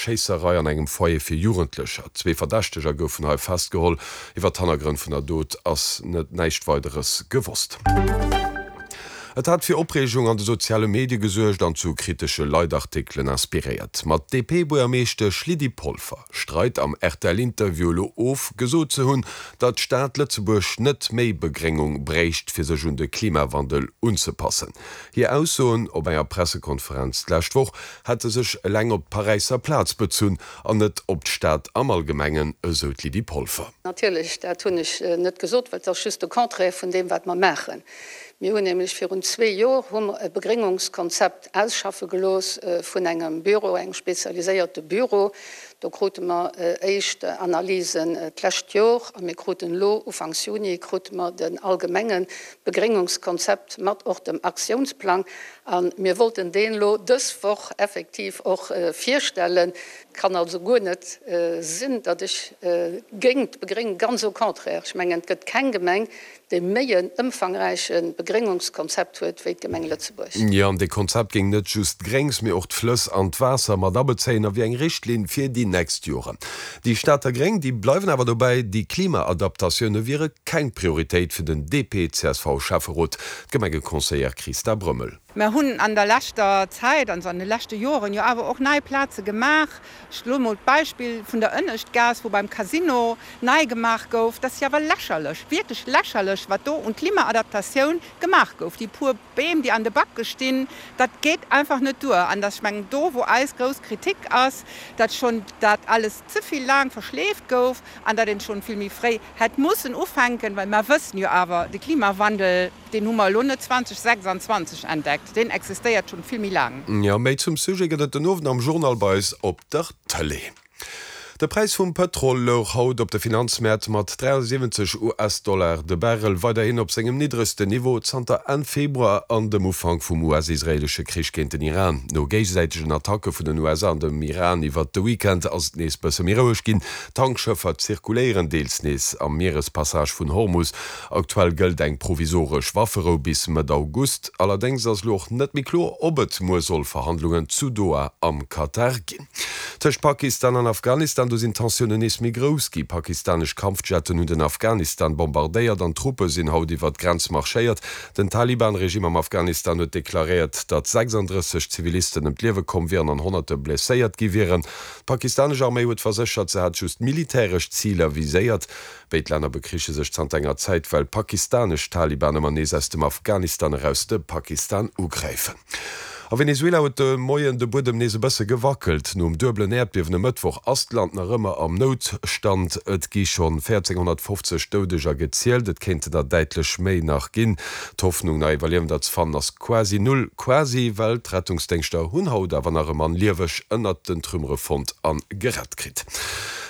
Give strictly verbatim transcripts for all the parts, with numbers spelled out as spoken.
Schéisserei an engem Foyer fir Jugendlecher. Zwee Verdächteger goufen hei festgeholl. Iwwer d'Hannergrënn vun der Dot ass net näischt Weideres gewosst. Et hat fir Opreegung an de soziale Medie gesuergt an zu kritesche Leitartikelen inspiréiert. Ma d'DP-Buergermeeschtesch Lydie Polfer streit am R T L-Interview elo of, gesot ze hunn, datt d'Stad Lëtzebuerg net méi Begréngung bréicht, fir sech un de Klimawandel unzepassen. Hir Aussoen op enger Pressekonferenz d'lescht Woch hätte sech eleng op d'Paräisser Plaz bezunn an net op d'Stad am Allgemengen, esou d'Lydie Polfer. Natierlech, dat hunn ech net gesot, well dat ass just de Contraire vun deem, wat mer maachen. Mir hunn nämlech virun zwee Joer hu mer e Begréngungskonzept ausschaffe gelooss vun engem Büro, engem spezialiséierte Büro. Do krute mer éischt Analysen d'lescht Joer a mir kruten elo ufanks Juni krute mer den allgemenge Begréngungskonzept mat och dem Aktiounsplang a mir wollten deen elo dës Woch effektiv och virstellen. Et kann also guer net sinn, datt ech géint d'Begréngung, ganz au contraire, ech mengen, et gëtt keng Gemeng, déi méi en ëmfangräiche Begréngungskonzept huet wéi d'Gemeng Lëtzebuerg. Jo, an dee Konzept géing net just d'Gréngs, mee och d'Flëss an d'Waasser mat abezéien a wier eng Richtlinn fir déi nächst Joren. Déi Stater Gréng, déi bleiwen awer dobäi, déi Klimaadaptatioune wiere keng Prioritéit fir den D P C S V-Schäfferot, d'Gemengeconseillère Christa Brömmel. Mer hunn an der leschter Zäit, also an de leschte Joren, jo awer och nei Plaze gemaach. Ech elo mol d'Beispill vun der Ënneschtgaass, wou beim Casino nei gemaach gouf. Dat ass jo awer lächerlech, wierklech lächerlech, wat do un Klimaadaptatioun gemaach gouf. Déi puer Beem, déi an de Backe stinn, dat geet einfach net duer. An dass, ech mengen, do wou eis grouss Kritik ass, datt schonn dat alles ze vill laang verschleeft gouf an datt een schonn vill méi fréi hätt mussen ufänken, well mer wëssen jo awer, de Klimawandel, deen hu mer elo net zweedausendsechsanzwanzeg entdeckt, deen existéiert schonn vill méi laang. Jo, méi zum Sujet gëtt et den Owend am Journal bei eis op der Tëlee. De Präis vum Pëtrol louch haut op de Finanzmäert mat dräiasiwwenzeg U S-Dollar de Barrel weiderhin op sengem niddregsten Niveau zanter Enn Februar an dem Ufank vum U S-israeelesche Krich géint den Iran. No géigesäitegen Attacke vun den U S A an dem Iran iwwert de Weekend ass et nees bësse méi roueg ginn. Tankschëffer zirkuléieren deels nees am Mierespassage vun Hormus. Aktuell gëllt eng provisoresch Wafferou bis Mëtt August. Allerdéngs ass elo och net méi kloer, ob et muer soll Verhandlungen zu Doha am Katar ginn. Tëscht Pakistan an Afghanistan, do sinn d'Tensiounen nees méi grouss gi. Pakistanesch Kampfjetten hunn den Afghanistan bombardéiert an Truppe sinn haut iwwer d'Grenz marschéiert. Den Taliban-Regime am Afghanistan huet deklaréiert, datt sechsandrësseg Zivilisten ëm d'Liewe komm wieren an Honnerte blesséiert gi wieren. D'pakistanesch Arméi huet verséchert, se hätt just militäresch Ziler viséiert. Béid Länner bekriche sech zanter enger Zäit, well pakistanesch Taliban ëmmer nees aus dem Afghanistan eraus de Pakistan ugräifen. A Venezuela huet de Moien de Buedem nees e bësse gewackelt. Nom duebelen Äerdbiewen e Mëttwoch ass d'Land nach ëmmer am Noutstand. Et gi schonn véierzénghonnertfofzeg Doudeger gezielt, et kéinten der däitlech méi nach ginn. D'Hoffnung nach Iwwerliewender ze fannen ass quasi null. Quasi, well d'Rettungsdéngschter hunn haut awer nach e Mann lieweg ënnert den Trümmere fonnt a gerett kritt.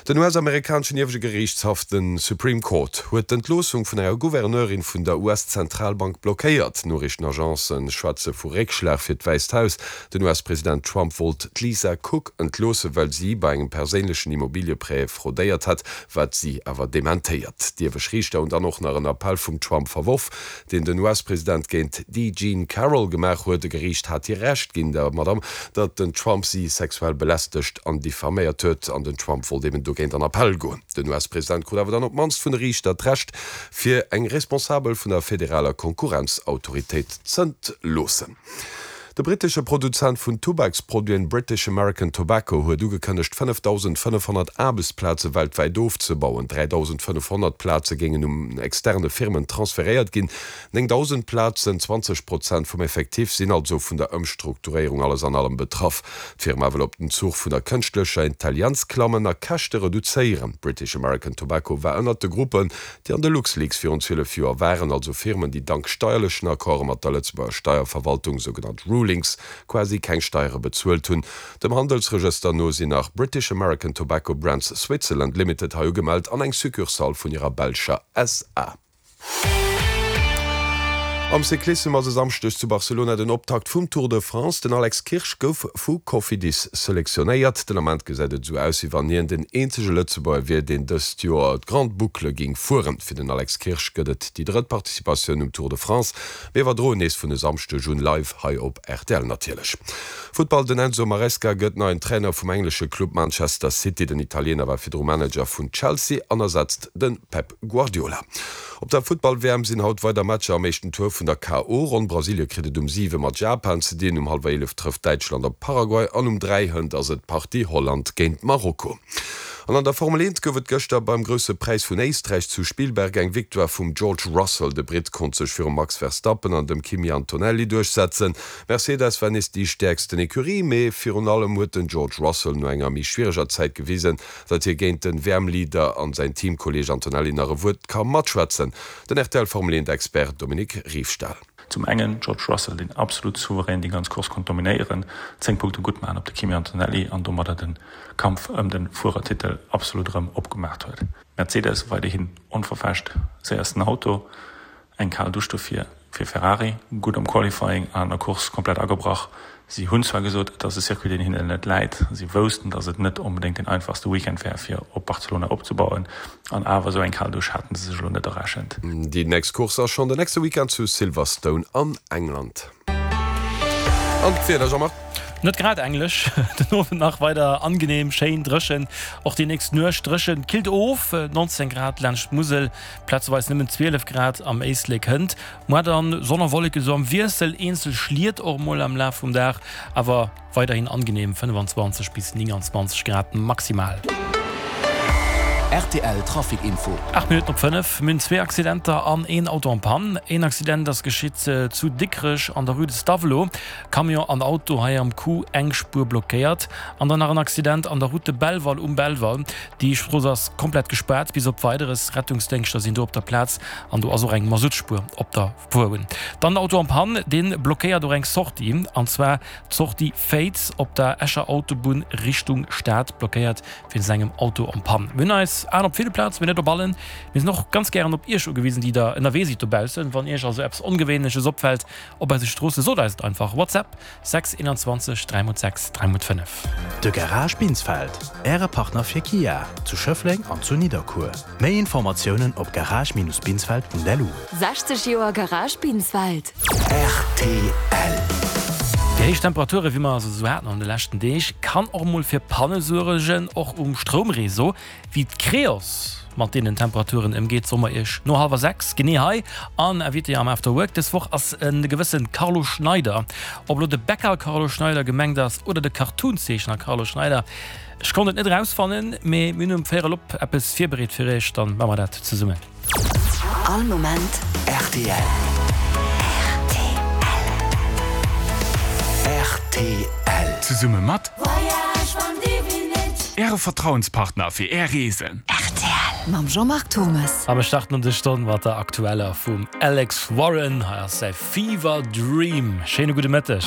Den U S-amerikaneschen ieweschte Geriichtshaff, de Supreme Court, huet d'Entloossung vun enger Gouverneurin vun der U S-Zentralbank blockéiert. Noriichtenagencë schwätze vu Réckschlag fir d'Wäisst Haus. Den U S-President Trump wollt d'Lisa Cook entloossen, well si bei engem perséinlechen Immobilieprêt fraudéiert hat, wat si awer dementéiert. D'iewescht Riichter hunn dann och nach en Appell vum Trump verworf, deen den U S-President géint d'E. Jean Carroll gemaach huet. E Geriicht hat hir Recht ginn, der Madame, datt den Trump si sexuell belästegt an diffaméiert huet, an den Trump wollt eben dogéint an Appell goen. Den U S-President krut awer dann op d'mannst vun de Riichter d'Recht, fir eng Responsabel vun der federaler Konkurrenzautoritéit z'entloossen. De brittesche Produzent vun Tubaksproduiten British American Tobacco huet ugekënnegt, fënnefdausendfënnefhonnert Aarbechtsplaze weltwäit ofzebauen. Dräidausendfënnefhonnert Plaze géingen un externe Firmen transferéiert ginn. Néngdausend Plazen, zwanzeg Prozent vum Effectif, sinn also vun der Ëmstrukturéierung alles an allem betraff. D'Firma wëll op den Zuch vun der kënschtlecher Intelligenz klammen a Käschte reduzéieren. British American Tobacco war ënnert de Gruppen, déi an de LuxLeaks virun zwielef Joer waren, also Firmen, déi dank steierlechen Accorde mat der Lëtzebuerger Steierverwaltung, sougenannt Rulings, quasi keng Steiere bezuelt hunn. Dem Handelsregëster no sinn nach British American Tobacco Brands Switzerland Limited hei ugemellt an eng Succursale vun hirer belscher S A. Am Cyclissem ass e Samschdeg zu Barcelona den Optakt vum Tour de France. Den Alex Kirsch gouf vu Cofidis selektionéiert. Den Ament gesäit et esou aus, wéi wann hien den eenzege Lëtzebuerger wier, deen dëst Joer d'Grande Boucle géing fueren. Fir den Alex Kirsch gëtt et déi drëtt Participatioun um Tour de France. Mir iwwerdroen nees vun e Samschdeg un live hei op rtl natierlech. Futtball, Den Enzo Maresca gëtt neien Trainer vum englesche Club Manchester City. Den Italiener war virdru Manager vun Chelsea an ersetzt de Pep Guardiola. Op der Futtball-WM sinn haut weider Matcher am éischten Tour vun der K O. Ronn. Brasilie kritt et um siwe mat Japan ze dinn, um hallwer eelef trëfft Däitschland op Paraguay an um dräi hënt ass et d'Partie Holland géint Marokko. An an der Formel eent gouf et gëschter beim Grousse Präis vun Éisträich zu Spielberg eng Victoire vum George Russell. De Britt konnt sech virum Max Verstappen an dem Kimi Antonelli duerchsetzen. Mercedes war nees déi stäerksten Ecurie, mee virun allem huet den George Russell no enger méi schwiereger Zäit gewisen, datt hie géint den W M-Leader an säin Teamkolleeg Antonelli nach e Wuert ka matschwätzen. Den R T L Formel eent Expert Dominique Riefstahl. Zum engen George Russell, deen absolut souverän déi ganz Course konnt dominéieren, zéng Punkte gutt maachen op de Kimi Antonelli an domadder de Kampf ëm de Fuerertitel absolut erëm opgemaach huet. Mercedes weiderhin onverfälscht séiersten Auto, eng kal Dusch dofir fir Ferrari, gutt am Qualifying an an der Course komplett agebrach. Si hunn zwar gesot, et ass e Circuit, deen hinnen net läit, si woussten, datt et net onbedéngt deen einfachste Weekend wär, fir op Barcelona opzebauen, an awer esou eng kal Dusch haten se sech elo net errechent. Déi nächst Course ass schonn den nächste Weekend zu Silverstone an England. An d'Wieder, Jean-Marc? Net grad englesch, den Owend nach weider angenehm, schéin dréchen, och déi nächst Nuecht dréchen, killt of, neunzehn Grad laanscht d'Musel, plazeweis nëmmen zwielef Grad am Éislek. Hënt muer dann Sonn a Wolleke sou am Wiessel, eenzel Schliet och mol am Laf vum Dag, awer weiderhin angenehm fënnefanzwanzeg bis nénganzwanzeg Grad maximal. R T L Trafic Info. Aacht Minutten op fënnef. Mir hunn zwee Accidenter an een Auto en Panne. Een Accident ass geschitt zu Dikrech an der Rue de Stavelot. Camion an Auto hei am Coup, eng Spuer blockéiert. An dann nach en Accident an der Route de Belval um Belval. Déi Strooss ass komplett gespaart bis op Weideres. Rettungsdéngschter sinn do op der Plaz an do ass och eng Masuttspuer op der Fuerbunn. Dann en Auto en Panne, dee blockéiert och eng Sortie, an zwar d'Sortie Féiz op der Escher Autobunn Richtung Stad blockéiert wéinst engem Auto en Panne. Mir hunn eis Aen op ville Plazen, mee net op allen. Mir sinn och ganz gären op Iech ugewisen, déi der ënnerwee sidd dobaussen. Wann Iech also eppes Ongewéinleches opfält op eise Stroosse, sot eis et einfach. WhatsApp, sechs einundzwanzeg dräi mol sechs dräi mol fënnef. De Garage Binsfeld, Äre Partner fir Kia, zu Schëffleng an zu Nidderkuer. Méi Informatiounen op garage-binsfeld punkt L U. sechzeg Joer Garage Binsfeld. R T L. Déi héich Temperature wéi mer se esou haten an de leschten Deeg, kann och mol fir Panne suergen, och um Stroumreseau. Wéi d'Creos mat deenen Temperaturen ëmgeet, soe mer iech no hallwer sechs genee hei an Invité am After Work dës Woch ass e gewësse Carlo Schneider. Ob elo de Bäcker Carlo Schneider gemengt ass oder de Cartoonzeechner Carlo Schneider, ech konnt et net erausfannen, mee mir hunn um Véierel op eppes virbereet fir iech, dann maache mer dat zesummen. All Moment R T L. R T L. Zesumme mat Äre Vertrauenspartner fir Är Reesen. R T L mam Jean-Marc Thommes. A mir starten an dës Stonn mat der aktueller vum Alex Warren. Hei ass säi Fever Dream. Schéine gudde Mëtteg.